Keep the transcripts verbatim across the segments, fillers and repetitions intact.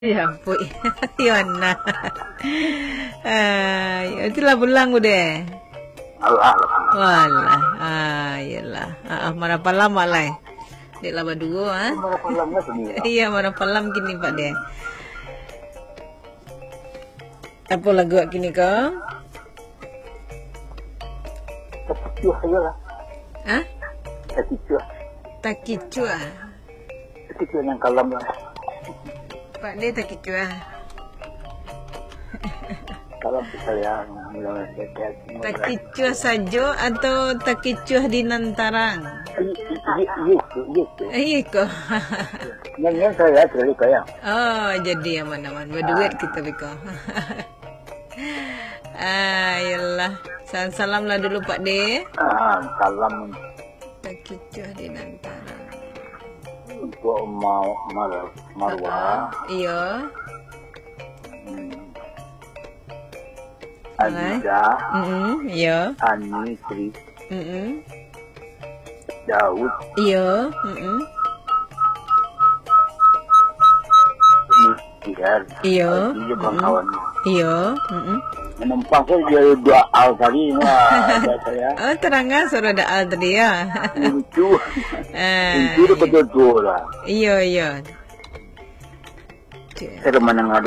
Ya ampun. Yo nah. Ah, itu lah pulang udah. Alah, alah. Walah. Ah, iyalah. Ah, ah, marapalam alai. Dek lah baduo, ah. Marapalam lah sendiri. Iya, marapalam kini, Pak, deh. Apa lagu kini ko? Takicuah aja lah. Hah? Takicuah. Takicuah. Takicuah yang kalam lah. Pak, dia takicuah. Kalam tu sayang. Takicuah sajo atau takicuah di nan tarang? Iya, iya, iya, iya. Eh, iya ko. Nyanyian saya, terlalu sayang. Oh, jadi aman-aman. Berduet kita beko. Ah, iyalah. Salam-salam lah dulu, Pak De. Ah, salam. Takicuah di nan tarang. Untuk mau mar-, marwah. Iyo. Hmm. Alai. Aziza. Mm-mm, iyo. Ani, Tri. Mm-mm. Daud. Iyo, mm-mm. Tiar. Iyo, Aldi jo mm-mm, kawan-kawan. Iyo, mm-mm. Manumpang sajo dua al tadi, wah, ada saya. Oh, tarang suara da al tadi, ya? Uncu. Ah, uncu tu iya. Betul-betul lah. Iyo, iyo. Cik. Saya dah mandanga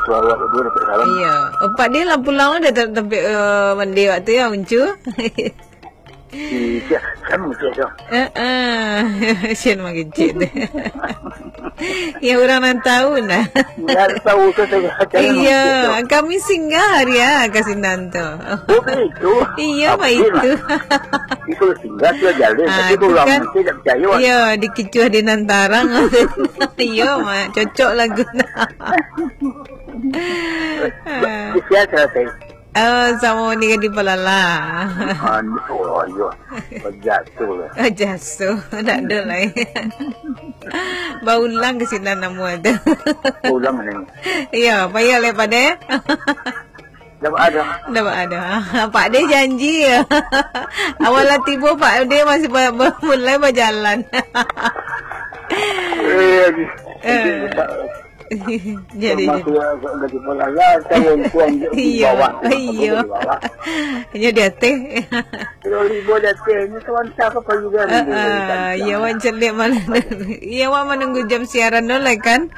suara awak tu, dapat salam. Iyo. Oh, Pak, dia lah pulang dah ter-, tampek, eh, mandi waktu ya, Uncu? Iya, saya mengecek tu. Heeh. Sian mangecek tu. Ya, urang nan tahu nah. Nan tahu tu, saya cakap. Iya, mengecek tu. Kami singgah hari ya, ka sinan tu. Oh, begitu. Iya, apa baitu. Itu singgah tu jalan, ah, tapi tu urang kan mesti tak percaya. Iya, dikicuah di nan tarang. Iya, Mak. Cocok lagu nah. Siap, siap, siap. Oh, samo ni kan di Palala. Ah, oh, iyo. Jatuh lah. Oh, jatuh. Tak ada lah. Baulang ka sinan namo tu. Ulang ni. Iya, payah lah, Pak De. Dah ada. Dah ada. Pak De janji ya. Awal lah tibo, Pak De masih ba-, ba-, mulai bajalan. Eh, lagi. Eh. Jadi, termasuk jadi. Yang gaji pun lah, kan, untung di bawah, iya, iya. Di bawah. Hanya di atas. Kalau ribu di atas, ini sementara apa juga. Ah, ah, iya, wan celik malam. Iya, wan menunggu jam siaran dulu lah, kan?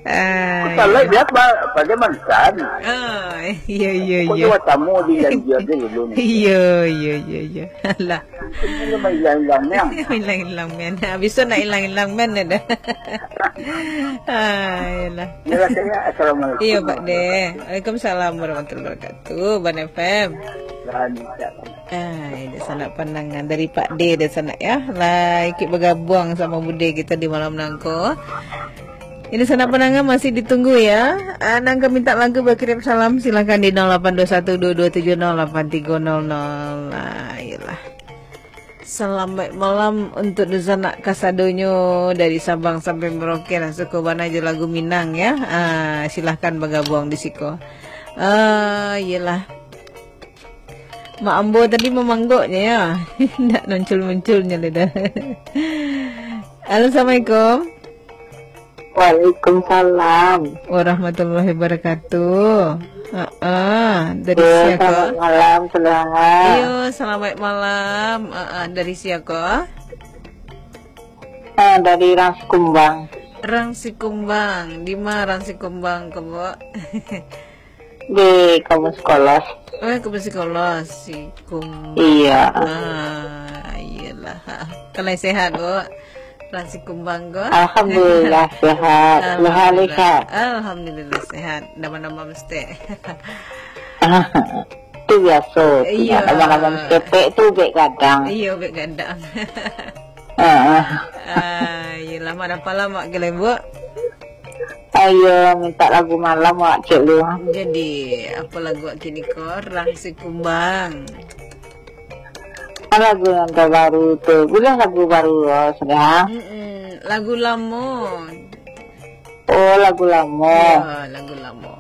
Ah, kalau iya. Dia pa-, pada mantan. Ah, iya, iya, iya. Pokoknya tamu di janji aja dulu nih. Iya, iya, iya, iya. Alah. Ini mah ilang-ilang, Mian. Ilang-ilang, Mian. Habis tu nak ilang-ilang, Mian, dah. Ah, iyalah. Iyalah, saya. Assalamualaikum. Iya, Pak De. Waalaikumsalam warahmatullahi wabarakatuh. Ban F M. Dan, ya. Ah, ini sanak pandangan dari Pak De di sana, ya. Lah, ikut bergabung sama Bude kita di malam nangko. Ini sanak pandangan masih ditunggu, ya. Ah, nan ka minta lagu, bakirim salam, silakan di nol lapan dua satu dua dua tujuh nol lapan tiga nol nol. Ah, iyalah. Salamaik malam untuak dunsanak kasadonyo dari Sabang sampai Merauke lah. Suko bana jo lagu Minang, ya. Ah, silahkan bagabuang di siko. Ah, iyolah. Mak ambo tadi mamanggoknyo, ya. Ndak muncul-munculnyo lai dah. Halo, assalamualaikum. Waalaikumsalam. Warahmatullahi wabarakatuh. Heeh, dari sia ko? Selamat malam, Saudara. Iyo, selamat malam. Heeh, dari sia ko? Ah, dari Rang Sikumbang. Rang Sikumbang. Di ma Rang Sikumbang ko, Bu? Di Kamus Kolos. Oh, Kamus Kolos, Sikumbang. Iya. Ah, iyalah. Kalau sehat, Bu? Rang Sikumbang ko? Alhamdulillah, sehat. Alhamdulillah. Sehat, sehat. Alhamdulillah, sehat. Nama-nama mesti. Tu biaso. Iya. Nama-nama mesti tu bek gadang. Iya, bek gadang. Ah. Ah, iyalah, mana pala mak gelai, Bu? Ayo, minta lagu malam, Wak, cek lu. Jadi, apa lagu wak kini ko? Rang Sikumbang. Lagu yang terbaru tu. Boleh lagu baru, oh, sudah. Mm-mm. Lagu lamo. Oh, lagu lamo. Ya, lagu lamo.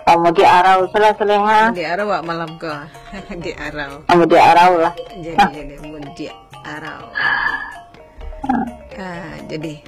Ah, Mudik Arau, salah, salah, ha? Mudik Arau, wak, malam ko. Mudik Arau. Ah, Mudik Arau lah. Jadi, jadi, Mudik Arau. Ah, jadi.